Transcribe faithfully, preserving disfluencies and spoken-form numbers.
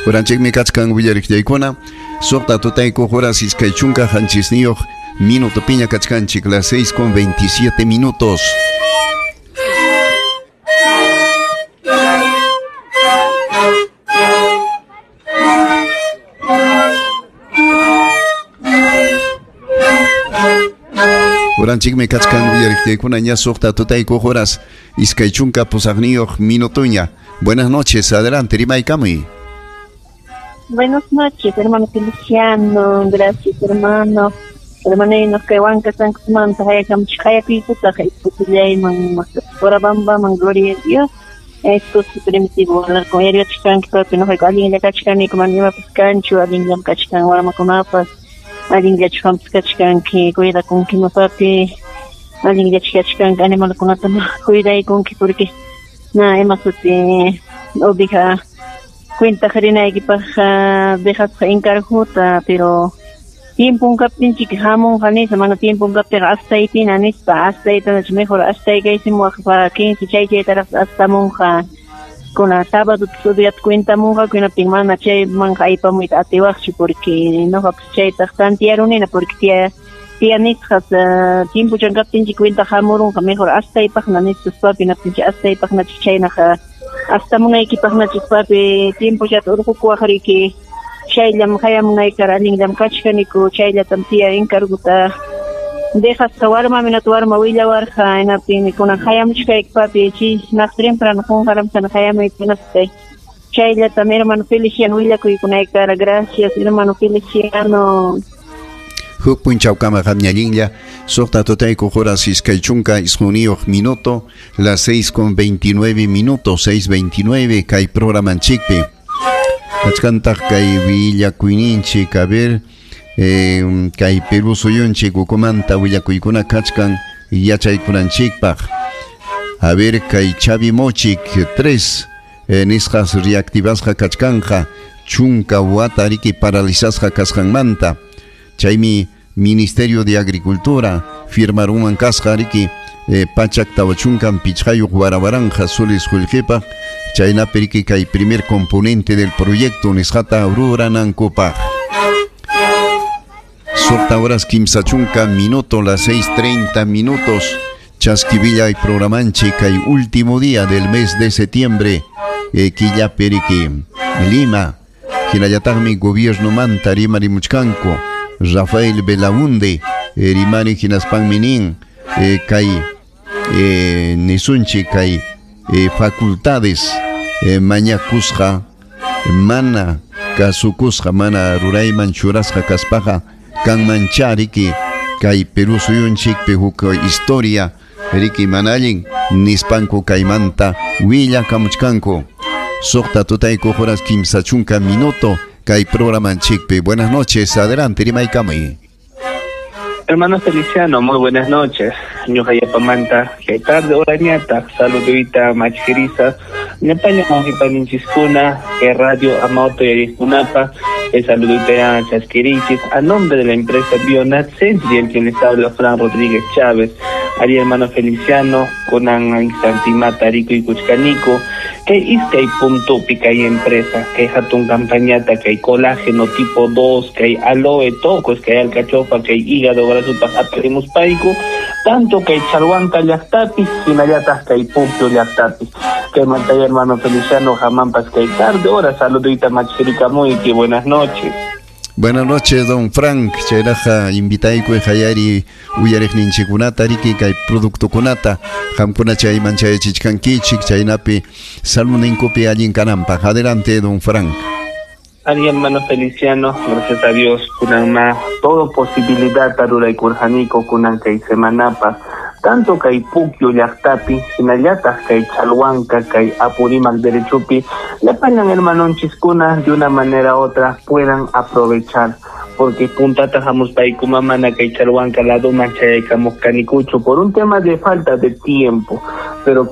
Uranchikmi kachkan willariqllaykuna suqta tutayku horas iskay chunka qanchisniyuq minuto piña kachkanchik las seis con veintisiete minutos. Uranchikmi kachkan willariqllaykuna ña suqta tutayku horas iskay chunka pusaqniyuq minutuña. Buenas noches, adelante, rimaykamuy. Buenas noches, hermano Feliciano, gracias, hermano. Hermano, que huanca sankusmanta hayakamchik hayakuyputaq isputullayman Urabambaman, gloria a Dios. Esto es primitivo, yariyachkanki papi, noqayku allinlla kachkaniku, mana imapas kanchu, allinllam kachkan warmakunapas, allinllachu qampas kachkanki, cuidakunkima papi, allinllachu kachkanki, animalkunata cuidaykunki, porque na ima suti oveja cuenta rinaykipaq dejasqa encargota, pero tiempon kaptinchik hamunqa nispa, mana tiempon kaptinqa astaypina nispa, astaytanachu mejor astaykaysimuwaq quince chay chaytaraq astamunqa, kuna sábado sudiyata cuentamunqa, kunaptin mana chaymanqa aypamuyta atiwaqchu, porque noqapas chaytaq tantiarunina, porque tía tía nisqas tiempuchan kaptinchik cuenta hamurunqa mejor astaypaqna nispas papi, naptinchik astaypaqnachu chaynaqa astamunaykipaqnachu papi, tiempuchata urqukuwaq riki, chayllam hayamunaykara allinllam kachkaniku, chayllatam tía encarguta dejasqa warmami nata warma willawarqa, hinaptinmi kunan hayamuchkayki papi, chi naq temprano qunqaramsana hayamuyta hinaspa chayllatam hermano Feliciano willakuykunaykara. Gracias, hermano Feliciano. Huk punchawkama qamñallinlla suqta tutayku horas iskay chunka isquniyuq minuto, las seis con veintinueve minutos, seis veintinueve, kay programanchikpi. Kachkantaq kay willakuyninchik, a ver, eh, kay Perú suyunchik ukumanta willakuykuna kachkan yachaykunanchikpaq. A ver, kay Chavimochic tres eh, nisqas reactivasqa kachkanja chunka wata riki paralizasqa kasqanmanta. Chaymi Ministerio de Agricultura firmaruman kasqa riki eh, pachak tawachunkan pichqayuq warawaranja soles qullqipaq, chaynapi riki kay primer componente del proyecto nisqata ruranankupaq. Suqta horas kimsa chunka minuto, las seis treinta minutos. Chasquivilla y programanchi kay último día del mes de septiembre, eh, killapi riki Lima. Hinallataqmi gobierno manta rimarimuchkanku Rafael Belaunde eh, rimari hinaspanmi nin eh, kay eh, nisunchi kay eh, facultades eh, mañakusqa mana kasukusqa mana rurayman churasqa kaspaqa kanmancha riki kay Perú suyunchikpi huk historia riki mana allin nispanku kaymanta willakamuchkanku. Suqta tutayku horas kimsa chunka minuto kay programanchikpi. Buenas noches, adelante, rimaykamuy. Hermano Feliciano, muy buenas noches. Ñuqa yapamanta, kay tarde orañata, saluduyta machkirisa, ñapaña mawqipaninchiskuna, kay radio Amauto yariskunapa, el saluduyta ya chaskirichis, a nombre de la empresa Bionat Centri, el quien les habla Fran Rodríguez Chávez, ari hermano Feliciano, kunan Santimata, Rico y Cuchcanico, que iskay punto pica y empresa, que hatun campañata, que hay colágeno tipo dos, que hay aloe tocos, que hay alcachofa, que hay hígado graso aperimus paico, tanto que hay chalhuanca llaqtapi, hinallatas que hay punto llaqtapi. Que mantaya hermano Feliciano, jamampas que hay tarde, hora saludita machirica muy, que buenas noches. Buenas noches, don Frank. Chayraja invitayku hayari uyariqninchikkunata riki kay productokunata qamkuna chayman chayachichkankichik chaynapi saludninkupi allin kananpaq. Adelante, don Frank. Ari hermano Feliciano, gracias a Dios, kunan ma todo posibilidad taruraykurqaniku kunan kay semanapa, tanto kay Puquio llaqtapi, hinallataq kay Chalhuanca, kay Apurímac derechopi, llapañan hermanonchiskuna de una manera u otra puedan aprovechar, porque puntata hamuspayku mana kay Chalhuanca ladoman chayaykamuq kanikuchu por un tema de falta de tiempo, pero